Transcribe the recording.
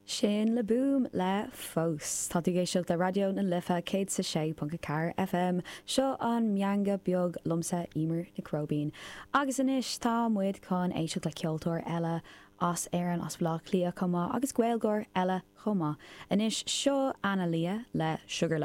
Sin Le Boom le Fós. Tá tú ag éisteacht le Raidió na Life 106.4 FM. Seo an Meangadh Beag liomsa, Emer Nic Róibín. Agus anois tá muid chun éisteacht le ceoltóir eile as Éirinn, as Bhaile Átha Cliath chomh maith, agus Gaeilgeoir eile chomh maith. Anois seo Anna Lia le Sugar.